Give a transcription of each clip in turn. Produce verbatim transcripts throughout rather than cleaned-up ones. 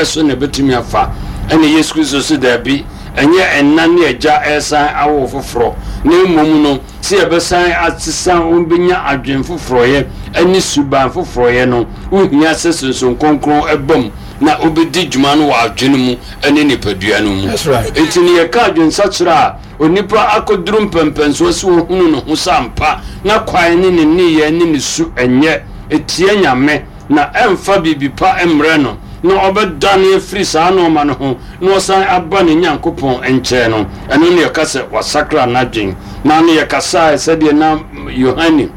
bɛɛ so na ɛbɛtumi afa? Ɛna Yesu Kristo so daabi, ɛnyɛ ɛna ne agya ɛsan awo foforɔ, na mmom no sɛ yɛbɛsan asesa wɔbɛnya adwen foforɔyɛ ɛne suban foforɔyɛ no, wohia sɛ Sunsum Kronkron ɛba mu na wobɛdi dwuma no wɔ adwene mu ɛne nipadua no mu. That's right. Nti ne yɛka adwensakyerɛ a, onipa akɔduru mpɛmpɛnsoɔ sɛ wɔhunu ne ho sɛ ampa na kwan ne ne nneyɛɛ ne ne su ɛnyɛ ɛtie Nyame na ɛmfa biribi pa mmerɛ no, na ɔbɛdane afiri saa nɔɔma no ho na ɔsan aba ne Nyankopɔn nkyɛn no, ɛno ne yɛka sɛ wasakra n'adwen. Na ne yɛkasae sɛdeɛ na Yohane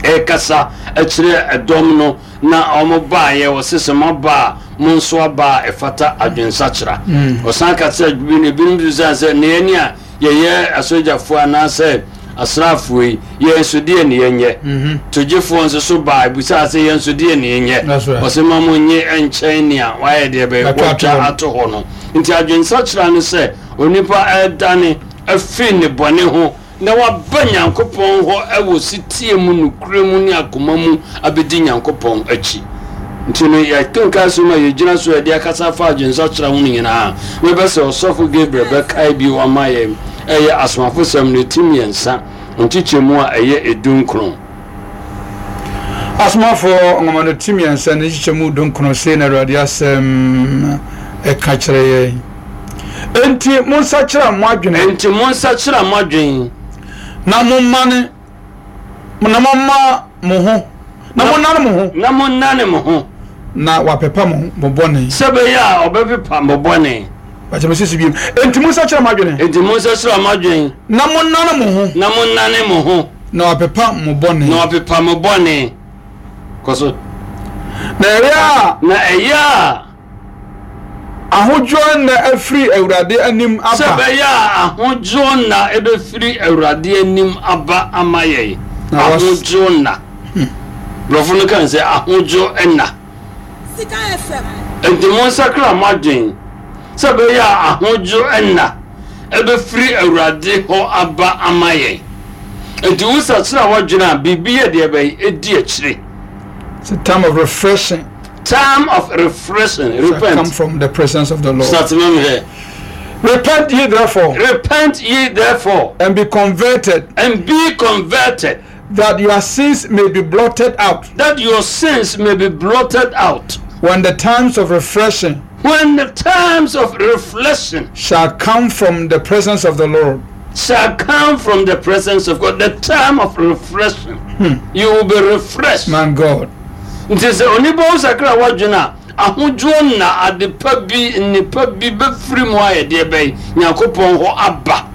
ɛrekasa kyerɛ ɛdɔm no na ɔmo baeɛ, wɔse sɛ moaba a, mo nso aba a ɛfata adwensakyera. Ɔsan ka sɛ ebinom bisa sɛ ne yɛne a yɛyɛ asogyafoɔ anaasɛ asraafoɔ yi, yɛn nso deɛ ne yɛnyɛ? Togyefoɔ nso so baa ebusaa sɛ yɛn nso deɛ ne yɛnyɛ? That's right. Ɔsɛ ma mo nye nkyɛn nea wayɛ deɛ bɛyɛ Watwa ato wɔtwa hɔ. ato hɔ no. Nti adwensakyera no sɛ onipa ɛdane afiri ne bɔne ho na waba Nyankopɔn hɔ ɛwɔ sitie mu, nokure mu ne akoma mu abɛdi Nyankopɔn akyi. Nti no yɛkenka so ma yɛgyina so yɛde akasa fa adwensakyera ho no nyinaa, mɛbɛ sɛ ɔsɔfo Gabriel bɛkae bio ama yɛn, ɛyɛ Asomafosɛm no ti mmiɛnsa nkyekyɛmu a ɛyɛ edu nkron. Asomafoɔ nwoma no ti mmiɛnsa ne nkyekyɛmu dunkron, sei na Awurade asɛm ɛka kyerɛ yɛn: Enti monsakyera mo adwene. Enti monsakyera mo adwen. Na mommane na momma mo ho na monnane mo ho. Na monnane mo ho. Na wapepa mo mo bɔne. Sɛ bɛyɛ a ɔbɛpepa mo bɔne. Bakyɛ mesisi bio: Enti monsakyera mo adwene. Enti monsakyera mo adwen. Na monnane mo ho. Na monnane mo ho. Na wapepa mo bɔne. Na wapepa mo bɔne. Kɔ so. Na ɛyɛ a na ɛyɛ a ahodwoɔ nna afiri Awurade anim sɛ aba. Bɛyɛ a ahodwoɔ nna ɛbɛfiri Awurade anim aba ama yɛn. Na was- Ahodwoɔ nna, borɔfo no kan sɛ ahodwoɔ nna. Sika F M. Nti monsakra mo adwen sɛ bɛyɛ a ahodwoɔ nna ɛbɛfiri Awurade hɔ aba ama yɛn. Nti wosakyera w'adwene a, biribi yɛ deɛ bɛyɛ ɛdi akyire. It's a time of refreshing. Time of refreshing. Shall come Repent. from the presence of the Lord. Start ma me hwɛ. Repent ye therefore, Repent ye therefore, and be converted, and be converted, that your sins may be blotted out, that your sins may be blotted out, when the times of refreshing when the times of reflection shall come from the presence of the Lord. Shall come from the presence of God. The time of refreshing, you will be refreshed. Man God. Nti sɛ onipa wo sakra w'adwene a, ahodwoɔ na adepa bi nnipa bi bɛfiri mu ayɛ deɛ bɛn Nyankopɔn hɔ aba.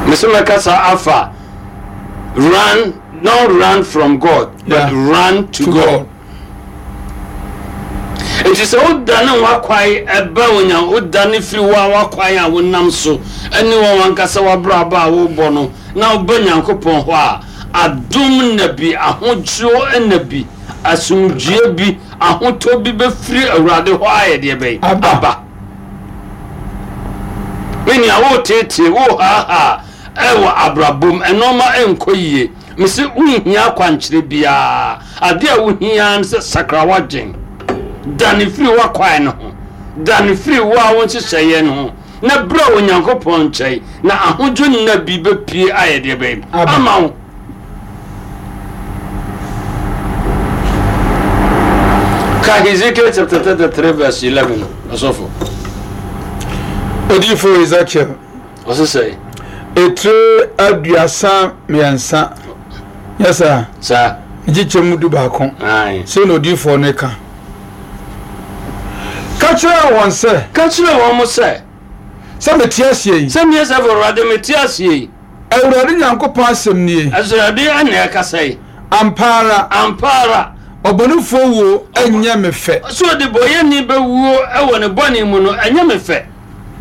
Mesɛ mɛkasa afa run, don't run from God, but Yeah. run to, To God. God. Nti sɛ wodane w'akwan ɛba onya, wodane firi wo a w'akwan a wonam so ɛne wɔn wankasa w'abrabɔ a wobɔ no na woba Nyankopɔn hɔ a, adom na bi, ahodwoɔ na bi, asomdwie bi, ahotɔ bi bɛfiri Awurade hɔ ayɛ deɛ bɛn? Aba. Aba. Me nua, wotetee wohaahaa ɛwɔ abrabom, ɛnɔɔma ɛnkɔ yie, mese wonhia akwankyerɛ biara. Adeɛ a wohia ne sɛ sakra w'adwen, dane firi w'akwan no ho, dane firi wo a wo nhyehyɛeɛ no ho na berɛ a Onyankopɔn nkyɛn na ahodwo nna bi bɛpie ayɛ deɛ bɛn? Aba. Ama wo. Ka Hezekiel chapter thirty-three verse eleven, ɔsɔfo. Odiyifo Ezekiel. Ɔse sɛ etire aduasa mmiɛnsa yɛ saa saa nkyekyɛ mu du baako. Ae. Sei na odiyifoɔ no ka: Ka kyerɛ wɔn sɛ, ka kyerɛ wɔn mo sɛ, sɛ mete aseɛ yi, sɛ meɛ sɛ Awurade mete aseɛ yi, Awurade Nyankopɔn asɛm nie, Awurade ɛna ɛkasa yi, ampa ara, ampa ara, ɔbɔnefoɔ wuo ɛnyɛ me fɛ, sɛ ɔdebɔyɛni bɛwuo ɛwɔ ne bɔne mu no ɛnyɛ me fɛ,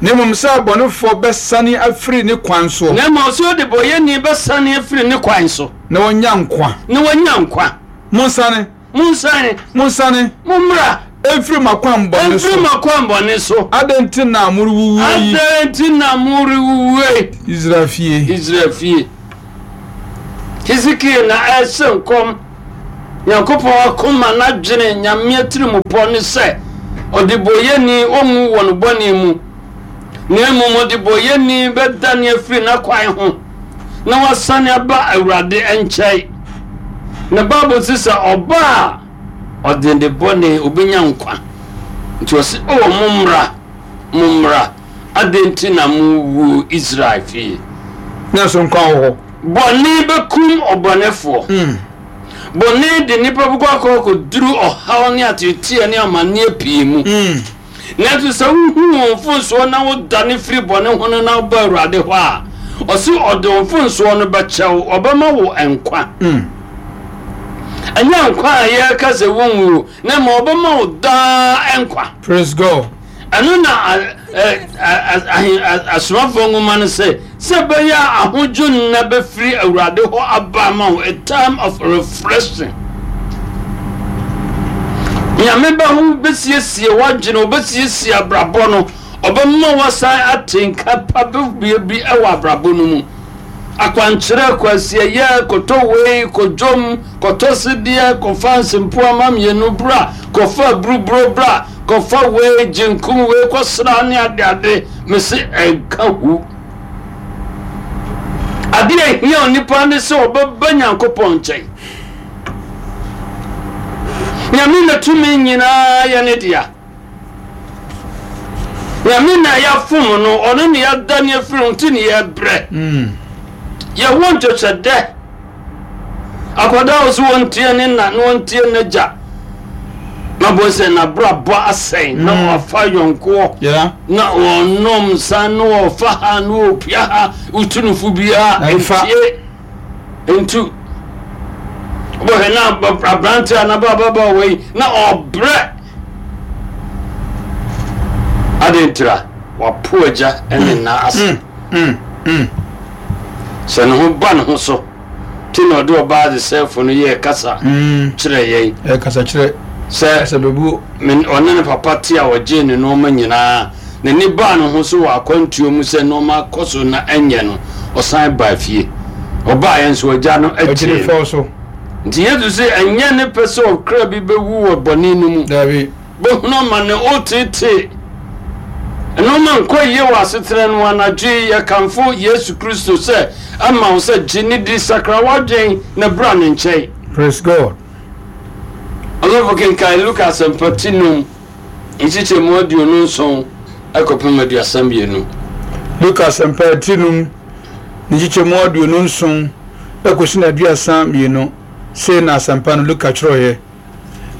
na mmom sɛ abɔnefoɔ bɛsane afiri ne kwan soɔ na mmom sɛ ɔdebɔyɛni bɛsane afiri ne kwan so na wɔnya nkwa. Na wanya nkwa. Monsane, monsane, monsane, mommra ɛmfiri mo akwammɔne ɛmfiri so. mo akwammɔne so. Adɛn nti na morewuwuo yi, adɛn nti na morewuwue, Israel fie? Israel fie? Hesekiel na ɛhyɛ nkɔm. Nyankopɔn akoma n'adwene Nyame atirimupɔ ne sɛ ɔdebɔyɛni ɔnwu wɔ no bɔne mu, na mmom ɔdebɔyɛni bɛdane afiri n'akwan ho na wasane aba Awurade nkyɛn. Na Bible se sɛ ɔba a ɔde ne bɔne obɛnya nkwa. Nti ɔse, o mommra, mommra, adɛn nti na mowuo Israel fie? Na so nkwa wɔ hɔ. Bɔne bɛkum ɔbɔnefoɔ. Mm. Bɔne de nnipa bɛkɔ akɔ akɔduru ɔhaw ne ateeteɛ ne amanneɛ pii mu. Mm. Nanso sɛ wohu wɔn mfomsoɔ na wodane firi bɔne ho no na woba Awurade hɔ a, ɔse ɔde wo mfomsoɔ no bɛkyɛ wo, ɔbɛma wo nkwa. Mm. Ɛnyɛ nkwa a yɛreka sɛ wonwuo, na ma ɔbɛma wo daa nkwa. Praise God. Ɛno na a- ɛ- a- a- ahe- a- asomafoɔ nwoma no sɛ sɛ ɛbɛyɛ a ahodwo nna bɛfiri Awurade hɔ aba ama wo, a time of refreshing. Nyame bɛ ho bɛsiesie w'adwene, ɔbɛsiesie abrabɔ no, ɔbɛma wasan ate nka pa bɛbie bi ɛwɔ abrabɔ no mu. Akwankyerɛ, kwasiɛyɛ, kɔtɔ wei, kɔdwom, kɔtɔ sedeɛ, kɔfa nsempoama mmienu bra, kɔfa buruburo bra, kɔfa wei, gyenkum wei, kɔsra ne adeade, mese ɛnka hu. Adeɛ a ɛhia onipa ne sɛ ɔbɛba Nyankopɔn nkyɛn. Nyame na tumi nyinaa yɛ ne dea. Nyame na yɛafom no, ɔno ne yɛadane afiri ho nti ne yɛbrɛ. Mm. Yɛwɔ ntwɛtwɛdɛ. Akwadaa a ɔso wɔntie ne na na wɔntie n'agya, na bɔ sɛ n'abrabɔ asɛe na Mm. wafa yɔnkoɔ Yeah. na wɔnom nsa na wɔfa ha na wɔpia ha, wotu no fo biara Na ɛmfa. ntie ntu. Wobɛhwɛ na ab- aberante a n'abababa wei na ɔbrɛ ade ntira wapo agya ne na ase. Mm. Mm. Sɛ ne ho ba ne ho so nti na ɔde ɔbaa de sɛfo no yɛɛ kasa Mm. kyerɛ yɛn Ɛyɛ kasa kyerɛ. sɛ Kasa bɛbuo. men- ɔne ne papa te a ɔgyee ne nneɛma nyinaa, n'ani baa ne ho so wɔ akwantuo mu sɛ nneɛma kɔ so na ɛnyɛ no, ɔsan baa fie. Ɔbaa yɛn nso agya no Ɔgyere akyire no. fɛw so. Nti Yesu sɛ ɛnyɛ ne pɛ sɛ ɔkra bi bɛwu wɔ bɔne no mu. Dabi. Bɛhunu ama ne ɔtetee nneɛma nkɔ yie wɔ asetena no mu. Anadwo yi yɛkamfo Yesu Kristo sɛ ama wo sɛ gye ne di, sakra w'adwen na bra ne nkyɛn. Praise God. Ɔsɔfo, kenkan Luka Asɛmpa ti num nkyekyɛmu aduonu nson ɛkɔpem aduasa mmienu. Luka Asɛmpa ti num ne nkyekyɛmu aduonu nson ɛkɔsi na aduasa mmienu. Sei na asɛmpa no Luka kyerɛeɛ.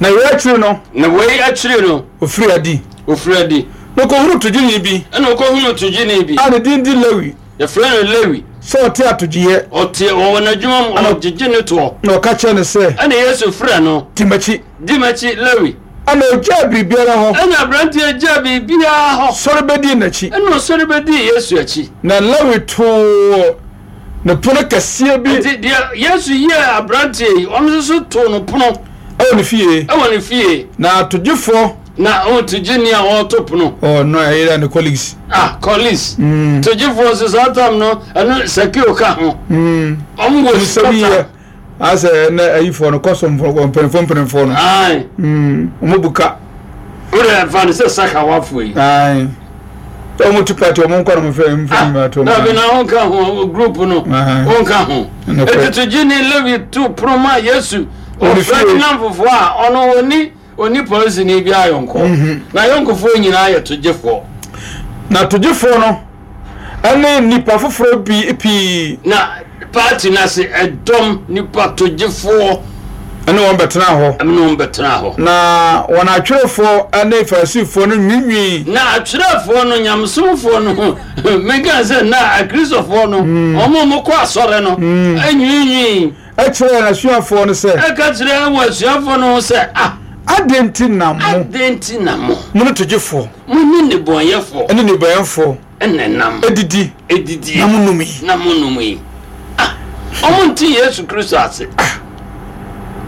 Na wei akyiri no, Na wei akyiri no, ofiri adi. Ofiri adi. Na ɔkɔhunu togyeni bi ɛna ɔkɔhunu togyeni bi a ne din di Lewi yɛfrɛ no Lewi sɛ ɔte atogyeeɛ. Ɔte ɔwɔ n'adwuma mu, ɔgyegye ne toɔ. Na ɔka kyerɛ no sɛ, ɛna Yesu frɛ no, "Di m'akyi." "Di m'akyi, Lewi." Ɛna ogyaa biribiara hɔ, ɛna aberanteɛ gyaa biribiara hɔ, sɔre bɛdii n'akyi. Ɛna ɔsɔre bɛdii Yesu akyi. Na Lewi too ne pono kɛseɛ bi Nti deɛ Yesu yɛɛ aberanteɛ yi, ɔno nso so too no pono ɛwɔ ne fie. Ɛwɔ ne fie. Na atogyefoɔ Na ɔtogyeni a ɔreto pono. Ɔno ɛyɛ ne colleagues. Ah, colleagues. Mm. Togyefoɔ nso saa tam no, ɛno Sakeo ka ho. Mm. Ɔmo wɔ nsɛm sika. yɛ asɛ ɛnɛ ayifoɔ no kɔsɔmfoɔ, mpanimfoɔ mpanimfoɔ no. Ae. Mm, ɔmo bu ka. Wode ɛfa no sɛ sakawafoɔ yi. Ae, ɔmo tu party, ɔmo nkɔ no mo fɛ mfɛ mi ato. Dabi, na wonka ho group no. Aye. Wonka ho. Nokorɛ. Eti togyeni Lewi to pono ma Yesu. Ɔne ɔfrɛ fie. ne namfofoɔ a ɔno ɔni ɔni polisini bi ayɔnkɔ Mhm. na ayɔnkofoɔ nyinaa yɛ togyefoɔ. Na togyefoɔ no ɛne nnipa foforɔ bi pii na party no ase ɛdɔm nipa togyefoɔ ɛne wɔn bɛtena hɔ. Ɛne wɔn bɛtena hɔ. Na wɔn atwerɛfoɔ ne Farisifoɔ no nwiinwii Na atwerɛfoɔ no, nyamesomfoɔ no, meka sɛ na akristofoɔ no, ɔmo a ɔmokɔ asɔre no anwiinwii ɛkyerɛ n'asuafoɔ no sɛ, ɛka kyerɛ wɔ asuafoɔ no ho sɛ, ah, "Adɛn nti na mo adɛn nti na mo mo ne togyefoɔ mo ne nnebɔnyɛfoɔ ɛne nnebɔnyɛfoɔ ɛna nam adidi edidie na monom yi?" Na monom yi. Ah, ɔmo nte Yesu Kristo ase.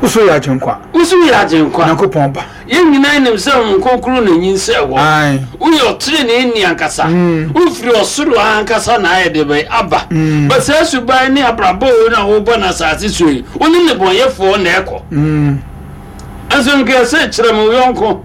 Woso yɛ Agyenkwa. Woso yɛ Agyenkwa. Nyankopɔn Ba. Yɛn nyinaa nim sɛ Honhom Kronkron na nyinsɛn wɔ. Ae. Woyɛ ɔtrenee ni ankasa. Wofiri ɔsoro ankasa na ayɛ de bɛn aba. Ba saa suban ne abrabɔ wei na wobɔ no asase so yi, wo ne nnebɔnyɛfoɔ na ɛkɔ. Nso nka ɛsɛ kyerɛ me wo yɔnko.